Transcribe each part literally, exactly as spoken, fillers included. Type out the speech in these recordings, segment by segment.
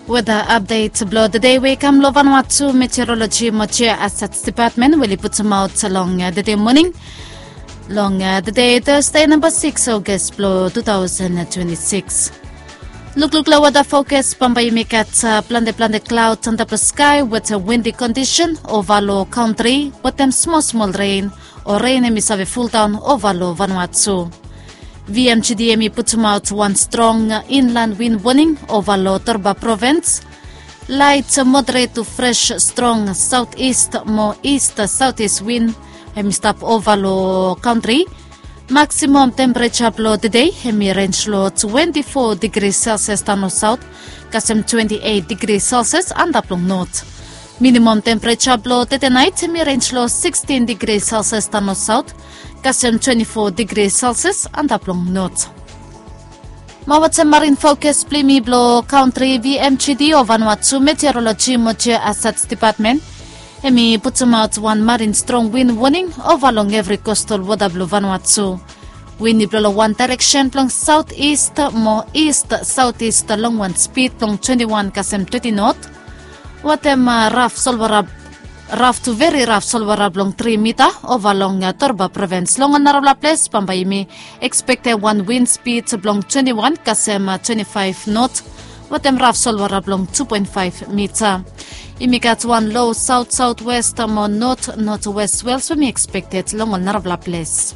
Weda apdet blong tede we i kam long Vanuatu Meteorologi mo Geohazards Dipatmen we oli putumaot long tede moning, long tede Tasde namba sikis August blong tu taosen twenti sikis. Lukluk long weda fokas, bambae yumi gat plante plante klaod antap long skae wetem windi kondisen ova long kantri wetem smol smol ren o ren hemi save fuldaon ova long Vanuatu. VMGD hemi putumaot wan strong inlan win woning ova long Torba provins. Laet moderet tu fres strong saotis mo is saotis win hemi stap ova long kantri. Maksimam tempereja blong tede hemi renj long twenti fo digri selsias daon long saot kasem twenti eit digri selsias antap long not. Minimam tempereja blong tede naet hemi renj long sikstin digri selsias daon long saot kasem twenti fo digri selsias antap long not. Mo wetem marin fokas blong yumi blong kantri VMGD o Vanuatu Meteorologi mo Geohazards Dipatmen hemi putumaot wan marin strong win woning ova long evri kostal wota blong Vanuatu. Win i blo long wan daereksen blong saotis mo is saotis long wan spid blong twenti wan kasem teti not. Wetem raf solwara, raf tu veri raf solwara blong tri mita ova long Torba provins. Long ol narafala ples bambae yumi ekspektem wan win spid blong twenti wan kasem twenti faef not wetem raf solwara blong tu poen faef mita. Yumi gat wan lo saot saotwes mo not notwes swels we hemi ekspekted long ol narafala ples.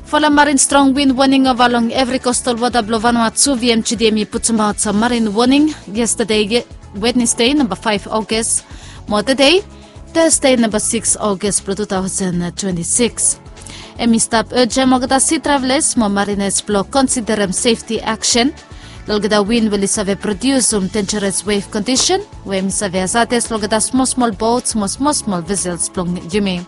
Folem marin strong win woning ova long evri kostal wota blong Vanuatu. VMGD hemi putumaot marin woning yestade, Wednesde namba faef August, mo tede, Tasde namba sikis August blong tu taosen twenti sikis. Hemi stap ejem olgeta si travelas mo marinas blong konsiderem sefti aksen long olgeta win we oli save prodiusum denjaras wef kondisen we hemi save hazades long olgeta smol smol bots mo smol smol vesels blong yumi.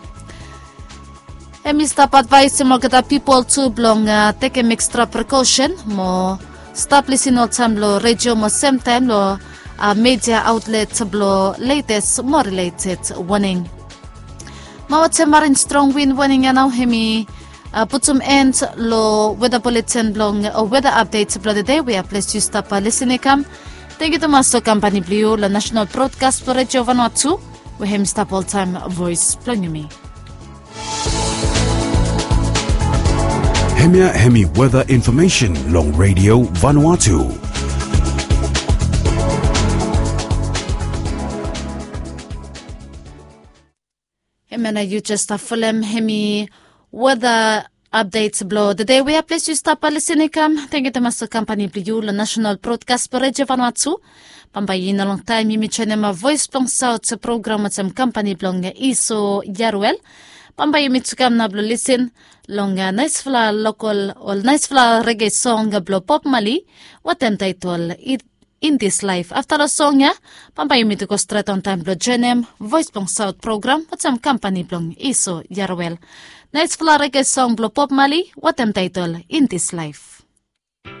Hemi stap advaesem olgeta pipol tu blong tekem ekstra prekosen mo stap lisin oltaem long redio mo semtaem long media aotlet blong letes mo rileted woning. Mo wetem marin strong win woning ya nao hemi putum en long weda buletin blong o weda apdet blong tede we ya ples yu stap lisin i kam. Tangkiu tumas long kampani blong yu long National Broadcast blong Redio Vanuatu we hemi stap oltaem voes blong yumi. Hemia hemi weda infomesen long Redio Vanuatu. Hemia nao yu jes stap folem hemi weda apdet blong tede we ya ples yu stap lisin i kam. Tangkiu tumas long kampani blong yu long National Broadcast blong Redio Vanuatu. Bambae i no longtaem yumi joenem voes blong saot program wetem kampani blong Iso Yaruel. Bambae yumi tu kam nao blong lisin long naesfala lokol ol naesfala rege song blong Bob Marley wetem taetol In This Life. Afta long song ya bambae yumi tu go stret ontaem blong joenem voes blong saot program wetem kampani blong Iso Yaruel. Naesfala rege song blong Bob Marley wetem taetol In This Life.